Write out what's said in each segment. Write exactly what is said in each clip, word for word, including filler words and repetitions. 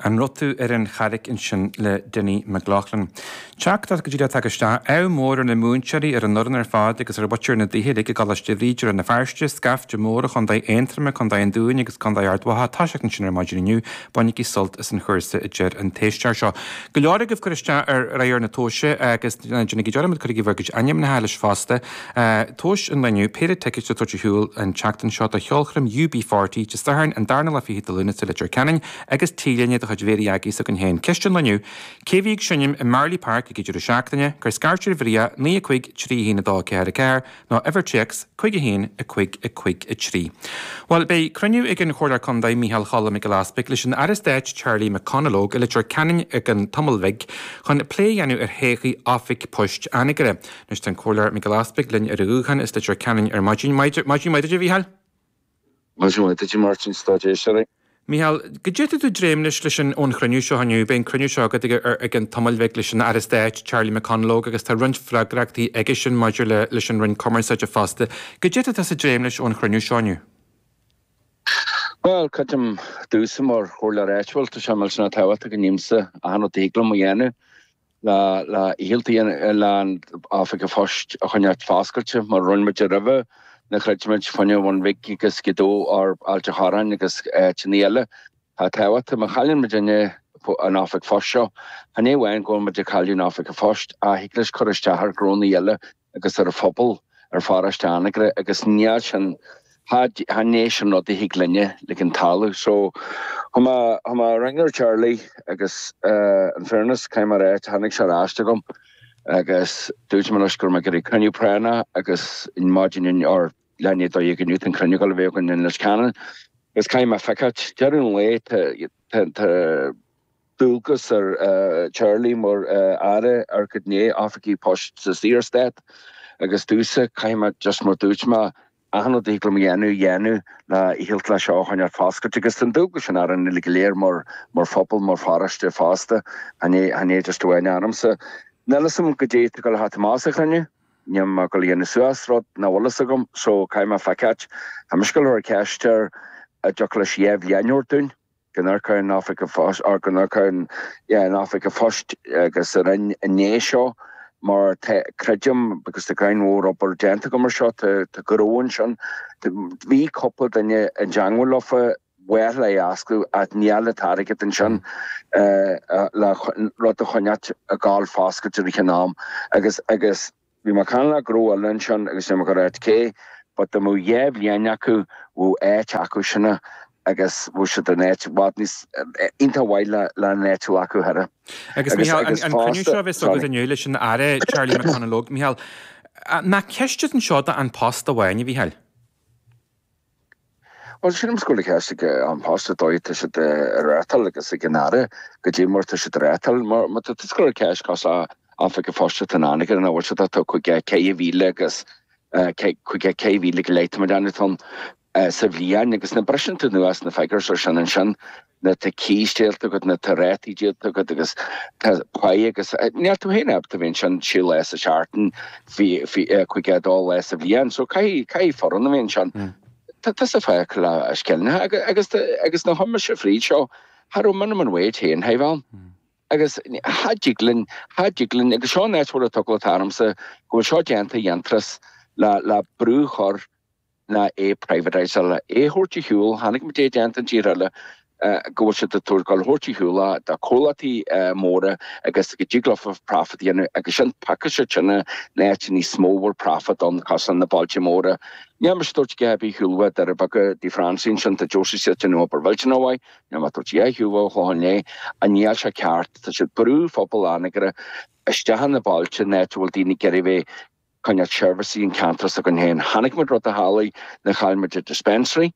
An raibh tú ar an Charraig ansin le Dinny McLaughlin. Teachtaireacht go dtí tagtha isteach, ádh mór ar na múinteoirí ar an fhoireann ar fad agus ar mhuintir na dtithe uilig i gColáiste Bhríde Rann na Feirste, scaifte mór ó Chontae Aontroma, Contae an Dúin agus Contae Ard Mhacha ag toiseacht ansin ar maidin inniu, bainigí sult as an chúrsa a deir an t-éisteoir seo. Go leor agaibh cur isteach ar rogha na tomhaise agus déanaigí dearmad cuirigí bhur gcuid ainmneacha leis fosta. Tomhas an lae inniu, péire ticéid le tabhairt ar shiúl an tseachtain seo do cheolchoirm U B forty Dé Sathairn an darna lá fichead de Lúnasa i Leitir Ceanainn agus T-léine de chuid Mhéirí Aggie s'againn féin. Ceist an lae inniu, cé bhí ag seinm i Marlay Park ag an deireadh seachtaine, cuir scairt ar Mharia naoi a cúig trí haon a dó ceathair a ceathair nó uimhir téacs cúig a haon a cúig a cúig a trí. Bhuel, beidh cruinniú ag an Chomhairleoir Contae Micheál Cholm Mac Giolla Easpaig leis an Aire Stáit Charlie McConalogue i Leitir Ceanainn ag an Tumail Bhig chun plé a dhéanamh ar thodhchaí oifig poist Anagaire. Anois tá an Comhairleoir Mac Giolla Easpaig linn ar an ghuthán as Leitir Ceanainn ar maidin. Maidin maith duit a Mhícheáil? Maidin mhaith duit Martin stáid éisteoirí. Micheál, goidé tá tú ag dréim leis leis an ón chruinniú seo inniu, beidh an cruinniú seo agat ag, ag an Tumail Bhig leis an Aire Stáit Charlie McConalogue agus tá roinnt freagrachtaí aige sin maidir le leis an Roinn Cumarsáide fosta. Goidé tá tú ag dréim leis ón chruinniú seo inniu. Well, creidim domhsa mar chomhairleoir áitiúil, tá sé millteanach tábhachtach go ndéanfaimse achan rud a thig liom a dhéanamh le le ialltaí le an oifig an phoist a choinneáil foscailte mar rinne muid roimhe na chreidimid fá choinne Bhun Bhig agus Gaoth Dobhair Ailt an Chorráin agus áiteanna eile. Tá tábhachtach má chailleann muid duine an oifig phoist seo, Chan é amháin go bhfuil muid ag cailleadh an oifig an phoist ach thig leis cur isteach ar ghnónna eile agus ar an phobal ar pharóiste Anagaire agus níl sin chan é sin rud a thig linne le an talamh. So tá mé tá mé ring ar Charlie agus uh, in fairness caithfidh mé a rá tháinig sé ar ais agam agus dúirt mé leis gur mé gur cruinniú práinne agus in maidin or lenne dó go nút an cruinniú a bheith in Leitir Ceanainn. Agus caithfidh mé feiceáil deireadh an lae tá dualgas ar uh, Charlie mar uh, aire ar go né oifigí poist sa Saorstát agus domhsa caithfidh mé just mar dúirt mé achan rud a thig liom a dhéanamh dhéanamh le iallta le seo choinneáil foscailte agus an dualgas sin ar an uile go léir mar mar phobal mar pharóiste fosta chan é just amháin ormsa. Níl a fhios agam goidé go le amach sa chruinniú, Ní go dhéanamh suas rud nach bhfuil a fhios agam so caithfidh mé feiceáil Tá mé ar ceist ar a dtiocfadh leis dhá bhliain dúinn go n-ar an oifig an phoist ar go n-ar an oifig an phoist agus ar an né seo mar creidim because tá grind mhór obair déanta go mar seo tá go sin bhí cúpla duine i dteagmháil leofa well le ascú at níl an t-airgead ansin le rud a choinneáil ag gabháil foscailte ar an am agus agus bhí mar can le gro sin agus go raibh cé, but dá mbeadh dhá bhliain acu bhí áit acu sinna agus bhí siad an áit bhfad níos iontach mhaith le le an áit acu thara. Agus Micheál an cruinniú seo bheith agat inniu leis an Aire Charlie McConalogue, Micheál, nach ceist anseo do An Post amháin a Mhícheáil? Well sin scóla ceist An Post dóigh tá siad ar rétal agus ag an aire goidé mar tá siad rétal mar tá scóla ceist cos oifig an phoist an Anagaire na bhfuil siad tá chuig ceithre mhíle agus chuig ceithre mhíle go leith mar an sa bhliain agus na briseann tú nuas na figures ar sin ansin na tá cístéalta agat na tá rátaí díolta agat agus tá pai agus níl tú féin ábalta bhíonn sin sé lá sa seachtain chuig dó lá sa bhliain, so caithfidh caithfidh foireann a bhíonn sin. Tá tá sa féach le scileanna agus agus na thuma se fríd seo cha raibh minimum wage féin haimh agus cha dtig linn cha dtig linn agus seo an áit bhfuil a tarmsa go bhfuil seo déanta dhéantras le le brú chur na é privatize le é thabhairt ar shiúl tháinig muid é déanta an tír eile go bhfuil siad ag tabhairt thabhairt ar shiúl do chomhlachtaí móra agus go dtig leofa profit dhéanamh agus sin paca sé sinna net níos mó bhfuil profit ann cos na bailte móra. Ní mar dúirt go bí thuúlha ar beag dí Francín sin tá Josie si nó obair bhiltin amháin, ní mar dúirt thuúh chláin lé a níl sé ceart tá siad brú phobal Anagaire isteach na bailte net bhfuil daoine ag bheith coinneáil seirbhísí an ceantar s'againn féin. Tháinig muid rud a tharla na chaill muid dispensary,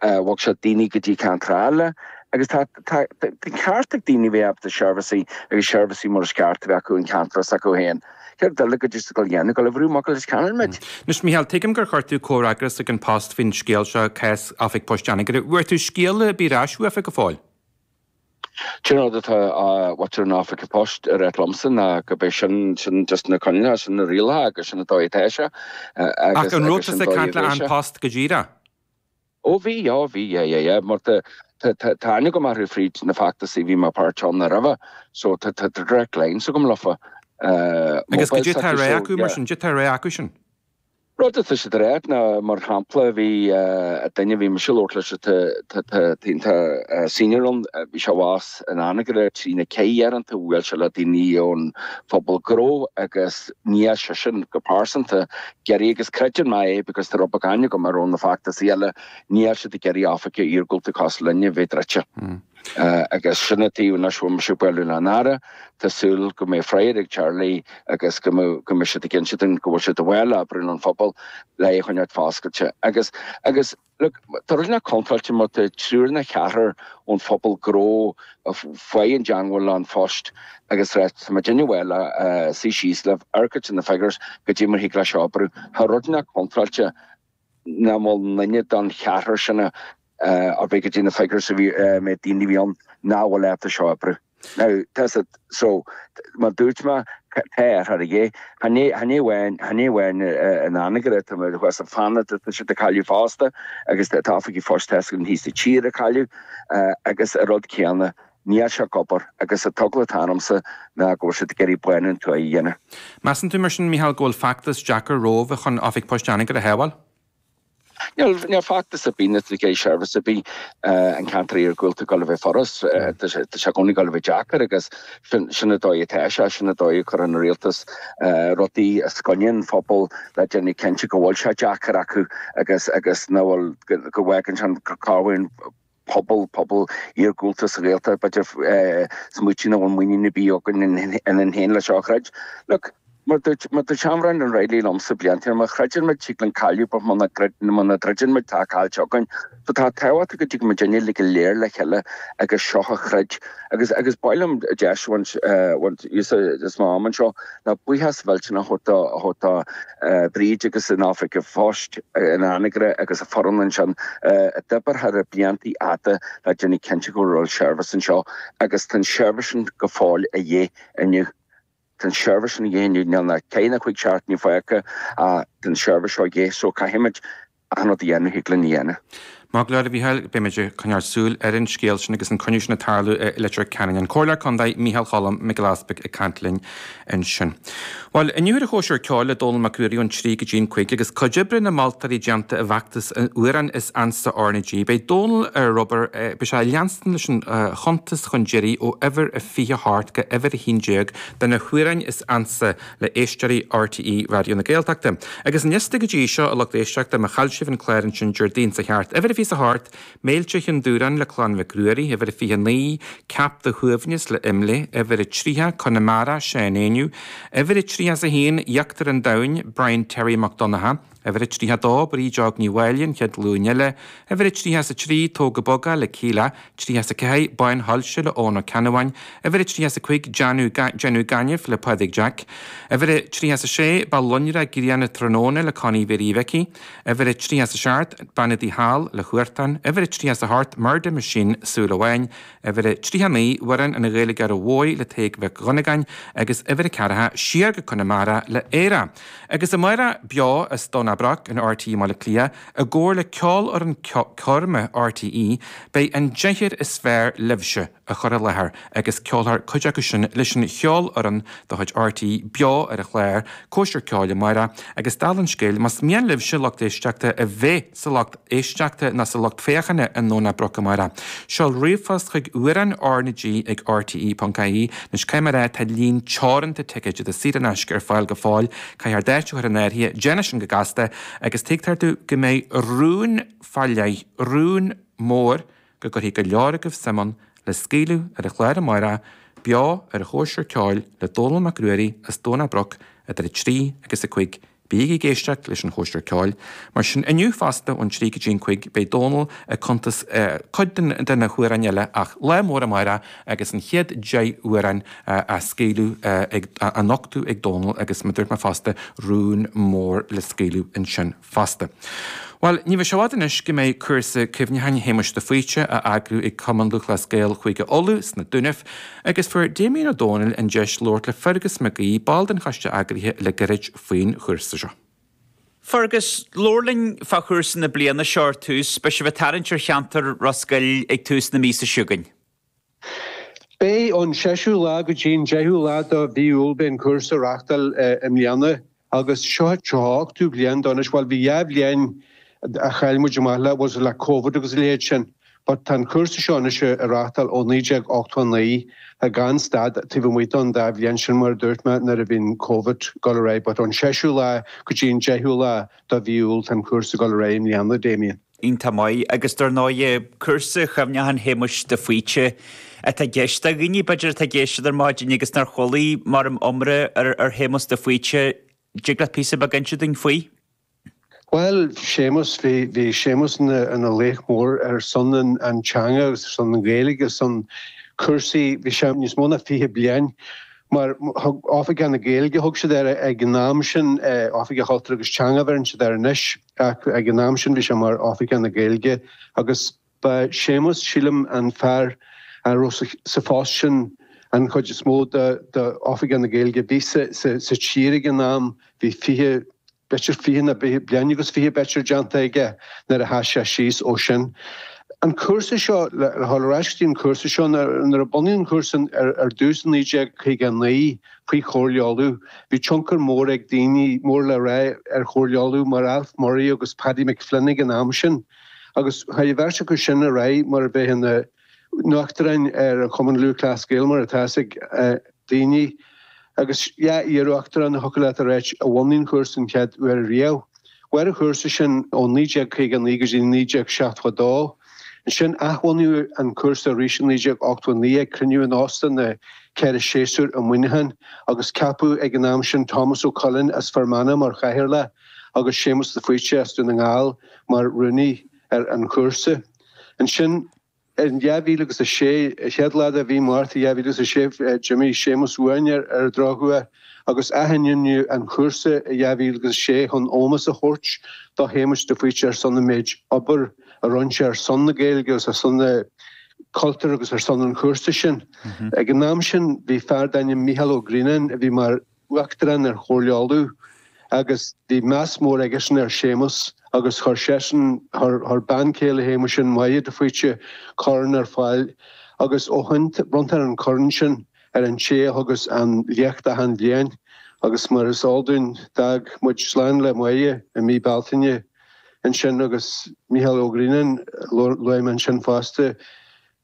bhog sé daoine go dtí ceantar eile, agus tá ceart ag daoine bheith ábalta seirbhísí agus seirbhísí mar is ceart a bheith acu an ceantar s'acu féin. Céard eile go dtí go dhéanamh go le bhrú mac leis ceann muid. Anois Micheál, tuigim gur chuir tú comhfhreagras ag An Post faoin scéal seo cás oifig poist Anagaire. Bhfuair tú scéal ar bith ar ais uafa go fóill? Sin rud atá mhuintir an oifig an phoist ar liomsa ná go beidh sin sin just na coinníollacha sin na rialacha agus sin an dóigh atá sé. Ach an raibh tú ag caint le An Post go díreach? Ó bhí, já bhí, yeah, yeah, yeah, mar tá Tá aithne agam orthu fríd na feachtais a bhí mé páirteach ann roimhe so tá direct line agam leofa. Agus goidé tá rá acu mar sin, goidé tá rá acu sin? Rud atá siad a rá ná mar shampla bhí duine bhí mise ag labhairt leis atá senior ann, bhí sé abhus in Anagaire trí na ceithre uaireanta, bhuail sé le daoine ón phobal gnó agus níl seisean go pearsanta ag iarraidh agus creideann mé é because tá rud beag aithne agam air ó na feachtasaí eile, níl siad ag iarraidh oifig iargúlta cosúil linne a bheith druidte. Agus sin an taobh anois bhfuil mise ag bualadh leis an Aire, tá súil go mbeidh freagra ag Charlie agus go mbeidh siad ag inse dúinn go bhfuil siad ag dul le oibriú an phobal le é a choinneáil foscailte. Agus, agus, look, tá rud inteacht contráilte má tá triúr nó ceathrar ón phobal gnó a fuair i dteangmháil le An Post agus rá tá muid ag dul le suí síos libh, amharc ar na figures goidé mar thig leis seo oibriú. Tá rud inteacht contráilte nach bhfuil duine den cheathrar sin a ar bith go dtí na figures a bhí mé daoine a bhí ann nach bhfuil ábalta seo a oibriú. Now, tá siad, so, mar dúirt mé, tá ar thar a chan é amháin, chan é amháin in Anagaire, tá mé thuas i Fanad, tá siad ag cailleadh fosta agus tá oifigí phoist thíos sa tír ag cailleadh agus an rud céanna, níl sé ag obair agus an t-eagla atá ormsa ná go bhfuil siad ag iarraidh bánú an tuaithe a dhéanamh. Measann tú mar sin, Mícheál, go bhfuil feachtas deacair romhaibh chun Oifig Poist Anagaire a shábháil? Níl feachtas ar bith ná seirbhís ar bith an ceantar iargúlta ag dul a bheith furast. Tá sé i gcónaí ag dul a bheith deacair agus sin an dóigh atá sé, sin an dóigh a chuireann an rialtas rudaí os coinne an phobail le déanamh cinnte go bhfuil sé deacair acu agus agus nach bhfuil, go bhfágann sin cá bhfuil pobal, pobal iargúlta sa Ghaeltacht, b'fhéidir, smaoitiú nach bhfuil muinín ar bith againn ionainn féin le seo a throid. Look, mar dúirt, mar dúirt sean-Bhrendan Reilly liomsa blianta ó shin, má throideann muid tig linn cailleadh but muna muna dtroideann muid tá caillte againn. So tá tábhacht go dtig muidinne uilig go léir le chéile agus seo a throid. Agus, agus ba mhaith liom deis a bhaint, bhaint úsáid as m'am anseo le buíochas mhillteanach a thabhairt do, a thabhairt do Bríd agus an Oifig Phoist in Anagaire agus a foireann ansin a d'oibir thar na blianta fhada le déanamh cinnte go raibh seirbhís anseo agus tá an seirbhís sin go fóill a dhíth inniu. Tá an seirbhís sin a dhíth inniu, níl ná ceithre ná cúig seachtaine fágtha ach tá an seirbhís seo a dhíth so caithfimid achan rud a dhéanamh thig linn a dhéanamh. Maith go leor, a Mhícheáil, beimid ag coinneáil súil ar an scéal sin agus an cruinniú sin ag tarlú i Leitir Ceanainn. An Comhairleoir Contae Mícheál Cholm Mac Giolla Easpaig ag caint linn ansin. Bhuel, inniu ar an Chóisir Ceoil le Dónall Mac Ruairí ón trí go dtí an cúig agus cuid oibre na moltóirí déanta i bhfeachtas an amhráin is ansa R na G. Beidh Dónall ar obair, beidh sé ag leanstan leis an chuntas chun deiridh ó uimhir a fiche hocht go uimhir a haon déag de na hamhráin is ansa le éisteoirí RTÉ Raidió na Gaeltachta. Agus an liosta go dtí seo, a lucht éisteachta, má chaill sibh an clár ansin Déardaoin seo thart, uimhir a fiche a hocht, Méilte Chionn Dúráin le Clann Mhic Ruairí, uimhir a fiche naoi, Ceap do Shuaimhneas le Imlé, uimhir a tríocha, Conamara, Seán Éinniú, uimhir a tríocha is a haon, Íochtar an Domhain, Brian Terry Mac Donncha, uimhir a tríocha dó, Bríd Óg Ní Mháille, An Chéad Ghlúin Eile, uimhir a tríocha is a trí, Tóg go Bog É le Kíla, tríocha is a ceathair, Bánshoilse le Eoghan Ó Ceannabháin, uimhir a tríocha is a cúig, Déanamh Gainimh le Pádraig Jack, uimhir a tríocha is a sé, Ba Lonraí Grian Tráthnóna le Connie Mhéirí Mhicí, uimhir a tríocha is a seacht, Bean an Tí Thall le Huartan, uimhir a tríocha is a hocht, Murder Machine, Súil Amháin, uimhir a tríocha naoi, Amhrán an Ghaeilgeora Mhóir le Tadhg Mhic Dhonnagáin agus uimhir a ceathracha, Siar go Conamara le Éire. Agus amárach beo as Domhnach Broc in RTÉ i mBaile Átha Cliath i gcomhar le Ceolfhoireann Coirme RTÉ, beidh an deichniúr is fearr libhse á chur i láthair agus ceolfar cuid acu sin leis an cheolfhoireann de chuid RTÉ beo ar an chlár, Cóisir Ceoil amárach agus dála an scéil, más mian libhse lucht éisteachta a bheith sa lucht éisteachta nó sa lucht féachana i nDomhnach Broc amárach, seol ríomhphost chuig amhráin R na G ag rte ponc ie. Anois caithfidh mé a rá, tá líon teoranta ticéid atá saor in aisce ar fáil go fóill, caithfear d'áit a chur in áirithe, déan é sin go gasta agus tuigtear domh go mbeidh rún fá leith, rún mór go gcuirfidh go leor agaibh suim ann le scaoileadh ar an chlár amárach, beo ar an Chóisir Ceoil le Dónall Mac Ruairí as Domhnach Broc idir a trí agus a cúig. Bígí ag éisteacht leis an Chóisir Ceoil. Mar sin inniu fosta ón trí go dtí an cúig beidh Dónall ag cuntas cuid de na hamhráin eile ach lá mór amárach agus an chéad deich amhrán á scaoileadh ag, á nochtadh ag Dónall agus mar a dúirt mé fosta rún mór le scaoileadh ansin fosta. Bhuel, ní bheidh sé i bhfad anois go mbeidh cúrsa cuimhneacháin Shéamuis de Faoite á eagrú ag Cumann Lúthchleas Gael Chúige Uladh sna Dúnaibh agus fuair Damien Ó Dónaill an deis labhairt le Fergus Mac Aoidh, ball den choiste eagraithe le gairid faoin chúrsa seo. Fergus, labhair linn fá chúrsa na bliana seo ar tús, beidh sibh ag tarraingt ar cheantar Ros Goill ag tús na míosa seo chugainn. Beidh ón seisiú lá go dtí an deichiú lá de mhí Iúil beidh an cúrsa á reáchtáil i mbliana agus seo tríocha ochtú bliain de anois, bhuel bhí dhá bhliain a chaill muid amach le, was le Covid agus a leithéid sin but tá an cúrsa seo anois á reáchtáil ó naoi déag ochtó a naoi gan stad taobh amuigh don dá bhliain sin mar a dúirt mé nuair a bhí an Covid ag dul ar aghaidh but ón seisiú lá go dtí an deichiú lá de mhí Iúil tá an cúrsa ag dul ar aghaidh i mbliana, Damien. Iontach maith, agus dar ndóigh, cúrsa chuimhneacháin Shéamuis de Faoite atá i gceist. Do dhaoine, b'fhéidir, atá ag éisteacht ar maidin agus nár chuala mórán iomrá ar ar Shéamus de Faoite, dtig leat píosa beag a inse dúinn faoi? Bhuel, Séamus, bhí bhí Séamus ina ina laoch mór ar son an an teanga agus ar son na Gaeilge, ar son cúrsaí, bhí sé níos mó ná fiche bliain mar thug Oifigeach na Gaeilge, thug siad air ag an am sin, Oifigeach Cultúir agus Teanga a bheireann siad air anois, ach ag an am sin bhí sé mar Oifigeach na Gaeilge agus ba Séamus, sílim, an fear a raibh sa phost sin an chuid is mó de Oifigeach na Gaeilge a bhí sa tír ag an am, bhí fiche b'fhéidir fiche nó bliain agus fiche b'fhéidir déanta aige nuair a sheas sé síos ó sin. An cúrsa seo, le dhul ar ais go dtí an cúrsa seo, nuair a bunaíodh an cúrsa ar dtús i naoi déag caoga a naoi faoi Chomhairle Uladh, bhí tionchar mór ag daoine mór le rá ar Chomhairle Uladh mar Alf Murray agus Paddy McFlynn ag an am sin agus chuaigh an bheirt acu sin ar aghaidh mar a bheith ina n-uachtaráin ar an Chumann Lúthchleas Gael mar atá fhios ag daoine. Agus dhá iar-uachtarán a thiocfadh leat a ráit a bhunaigh an chúrsa an chéad uair riamh. Mhair an chúrsa sin ó naoi déag caoga a naoi go dtí naoi déag seachtó a dó. Ansin athbhunaíodh an cúrsa arís i naoi déag ochtó a naoi ag cruinniú in Óstán na Ceithre Séasúr i Muineachán agus ceapadh ag an am sin Tomás Ó Coileáin as Fear Manach mar chathaoirleach agus Séamus de Faoite as Dún na nGall mar rúnaí ar an chúrsa. Ansin. In dhá mhíle agus a sé, chéad lá de mhí Márta dhá mhíle agus a sé, d'imigh Séamus uainn ar an drochuair agus athainmníodh an cúrsa i dhá mhíle agus a sé chun ómós a thabhairt do Shéamus de Faoite ar son an méid obair a rinne sé ar son na Gaeilge agus ar son na cultúir agus ar son an chúrsa sin. Ag an am sin bhí fear d'ainm Mícheál Ó Grianáin a bhí mar Uachtarán ar Chomhairle Uladh agus bhí meas mór aigesean ar Séamus agus chuir seisean, chuir bean chéile Shéamuis sin, Máire de Faoite, corn ar fáil agus ó shin bronntar an corn sin ar an té a thugas an léacht achan bhliain agus mar is eol dúinn d'fhág muid slán le Máire i mí Bealtaine ansin agus Mícheál Ó Grianáin, luaigh mé ansin fosta.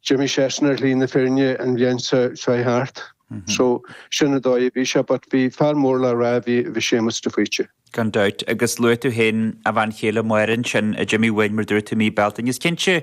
D'imigh seisean ar shlí na fírinne an bhliain seo thart. So, sin an dóigh a bhí sé, but bhí fear mór le rá a bhí i Séamus de Faoite. Gan dabht. Agus luaigh tú féin a bhean chéile Máire ansin a d'imigh uainn mar dúirt tú mí Bealtaine. Is cinnte